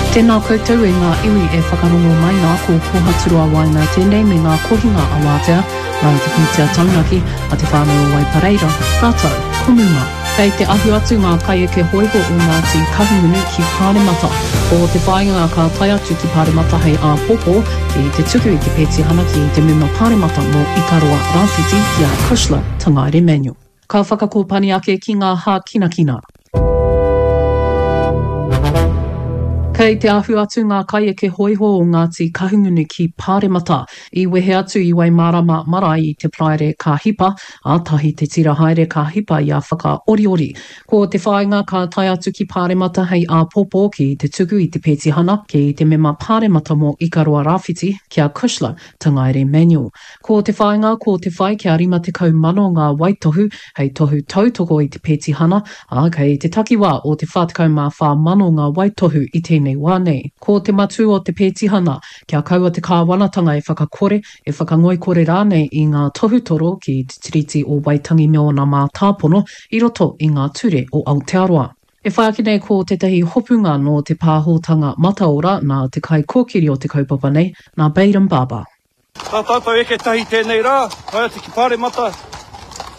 Tēnā koutou e ngā iwi e whakarongo mai nā ko Kohaturoa Waina tēnei me ngā kohinga awātea nā te pūtea taunaki a te whānau o Waipareira rātou ko Muma. Kei te ahu atu ngā kaieke hōiho o Ngāti Kahungunu ki Pāremata. Ko te whāinga ka tae atu ki Pāremata hei āpōpō ki te tuku i te pētihana ki te mema Pāremata mō Ikaroa Rāwhiti ki a Cushla Tangaere-Manuel. Ka whakakōpani ake ki ngā hākinakina. Kei te ahu atu ngā kaieke hōiho o Ngāti Kahungunu ki Pāremata. I wehe atu i Waimārama marae i te Paraire ka hipa, ā, tahi te tira haere ka hipa i a Whakaoriori. Ko te whāinga ka tae atu ki Pāremata hei āpōpō ki te tuku i te pētihana ki te mema Pāremata mō Ikaroa Rāwhiti, ki a Cushla Tangaere Manuel. Ko te whāinga ko te whai kia 50,000 ngā waitohu hei tohu tautoko i te pētihana, ā, kei te takiwā o te 44,000 ngā waitohu i tēnei wā nei. Ko te matū o te pētihana, kia kaua te kāwanatanga e whakakore, e whakangoikore rānei i ngā tohutoro ki te Tiriti o Waitangi me ōna mātāpono i roto i ngā ture o Aotearoa. E whai ake nei ko tētahi hopunga nō te pāhotanga mataora nā te kaikōkiri o te kaupapa nei, nā Bayden Barber. Tā tātou eke tahi tēnei rā, tae atu ki Pāremata,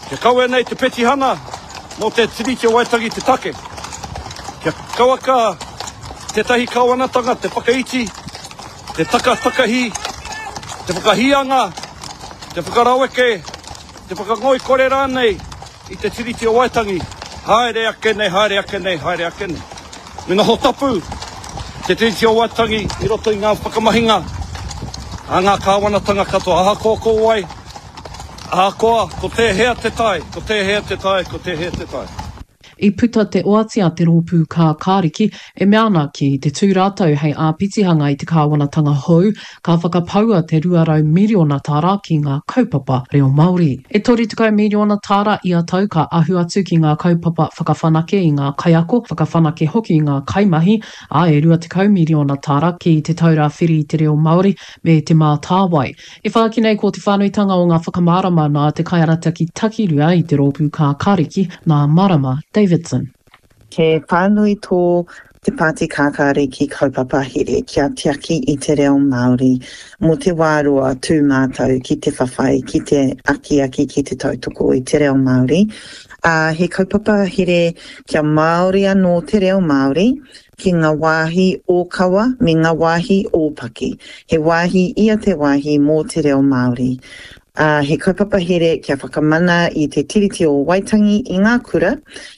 kia kawea nei te petihana mō te Tiriti o Waitangi te take. Kia kauaka tētahi kāwanatanga te whakaiti, te takatakahi, te whakahīanga, te whakaraweke, te whakangoikore rānei i te Tiriti o Waitangi, haere ake nei, haere ake nei, haere ake nei. Me noho tapu te Tiriti o Waitangi i roto i ngā whakamahinga a ngā kāwanatanga katoa, ahakoa ko wai, ahakoa ko tēhea te tae, ko tēhea te tae, ko tēhea te tae. I puta te oati a te Rōpū Kākāriki e mea ana ki te tū rātou hei āpitihanga i te kāwanatanga hou, ka whakapaua te 200 miriona tāra ki ngā kaupapa reo Māori. E 30 miriona tāra ia tau ka ahu atu ki ngā kaupapa whakawhanake i ngā kaiako, whakawhanake hoki i ngā kaimahi, ā, e 20 miriona tāra ki Te Taura Whiri i te Reo Māori me Te Mātāwai. E whāki nei ko te whānuitanga o ngā whakamārama nā te kaiarataki takirua i te Rōpū Kākāriki, nā Marama Davidson. He whānui tō Te Pāti Kākāriki kaupapa here kia tiaki i te reo Māori mō te wā roa tū mātou ki te whawhai, ki te akiaki, ki te tautoko i te reo Māori. Ā, he kaupapa here kia Māori anō te reo Māori ki ngā wāhi ōkawa me ngā wāhi ōpaki. He wāhi ia te wāhi mō te reo Māori. Ā, he kaupapa here kia whakamana i Te Tiriti o Waitangi i ngā kura,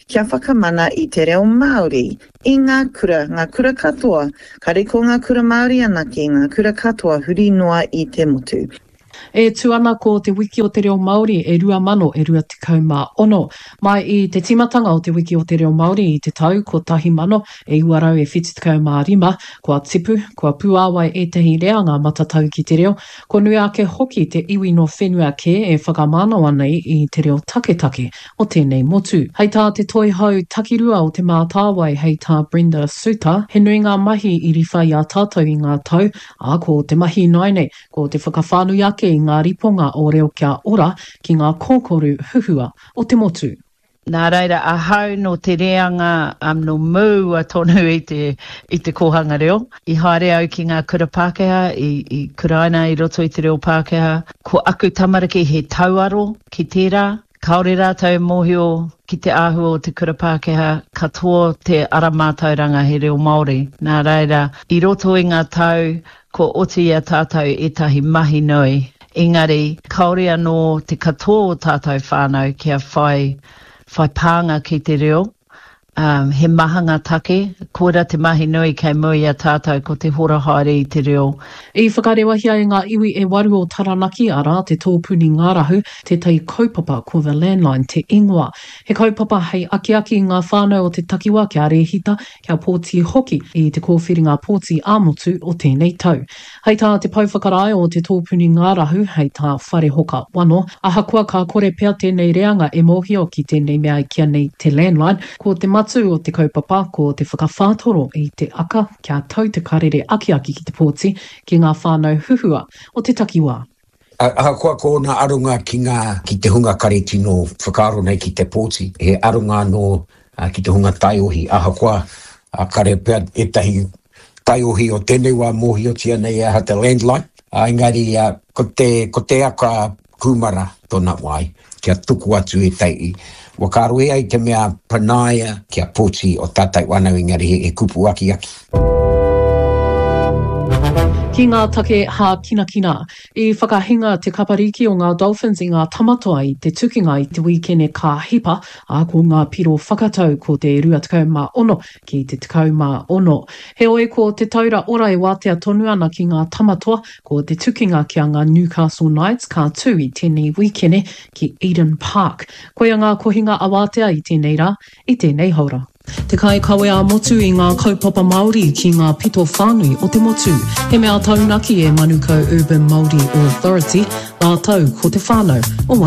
kia whakamana i te reo Māori i ngā kura, ngā kura katoa, kare ko ngā kura Māori anake, ngā kura katoa huri noa i te motu. E tū ana ko Te Wiki o te Reo Māori e 2000 e 26. Mai i te tīmatanga o Te Wiki o te Reo Māori i te tau 1975, kua tipu, kua puāwai ētahi reanga matatau ki te reo, kua nui ake hoki te iwi nō whenua kē e whakamānawa nei i te reo taketake o tēnei motu. Hei tā te Toihau Takirua o Te Mātāwai hei tā Brenda Soutar, he nui ngā mahi i riwha i a tātou i ngā tau, ā, ko te mahi ināianei, Ko te whakawhānui ake i ngā riponga o Reo Kia Ora ki ngā kōkoru huhua o te motu. Nā reira, ahau nō te reanga nō mua tonu i te, i te kōhanga reo. I haere au ki ngā kura Pākehā, i, i kuraina i roto i te reo Pākehā. Ko aku tamariki he tauaro ki tērā. Kāore rātou e mōhio ki te āhua o te kura Pākehā, katoa te ara mātauranga he reo Māori. Nā reira, i roto i ngā tau, kua oti i a tātou ētahi mahi nui, engari kāore anō te katoa o tātou whānau kia whai, whai pānga ki te reo. Ā, he maha ngā take, koirā te mahi nui kei mua i a tātou ko te hora haere i te reo. I whakarewahia e ngā iwi e waru o Taranaki, arā, te Tōpuni Ngārahu, tētahi kaupapa ko The Landline te ingoa. He kaupapa hei akiaki i ngā whānau o te takiwa kia rēhita, kia pōti hoki i te kōwhiringa pōti ā-motu o tēnei tau. Hei tā te pou whakarae o te Tōpuni Ngārahu, hei tā Wharehoka Wano, ahakoa ka kore pea tēnei reanga e mōhio ki tēnei mea e kīa nei te landline, ko te matū o te kaupapa ko te whakawhātoro i te aka kia tau te karere akiaki ki te pōti ki ngā whānau huhua o te takiwā. Ahakoa ko ōna aronga ki ngā, ki te hunga kare tino whakaaro nei ki te pōti, he aronga anō ki te hunga taiohi, ahakoa kare pea ētahi. Taiohi o tēnei wā mōhiotia nei e aha te landline, ā, engari ko te, ko te aka kūmara tōna wai, kia tuku atu e tei. Whakaaro e ai te mea panaia kia poti o tātou whānau engari he kupu akiaki. Ki ngā take hākinakina, i whakahinga te kapariki o ngā Dolphins i ngā Tamatoa i te tukinga i te wīkene ka hipa, ā, ko ngā piro whakatau ko te 26 ki te 16. Heoi, ko te taura ora e wātea tonu ana ki ngā Tamatoa, ko te tukinga ki a ngā Newcastle Knights ka tū i tēnei wīkene ki Eden Park. Koia ngā kohinga awātea i tēnei rā, i tēnei haora. Te kaikawe ā-motu i ngā kaupapa Māori ki ngā pito whānui o te motu. He mea taunaki e Manukau Urban Māori Authority rātou ko te whānau o.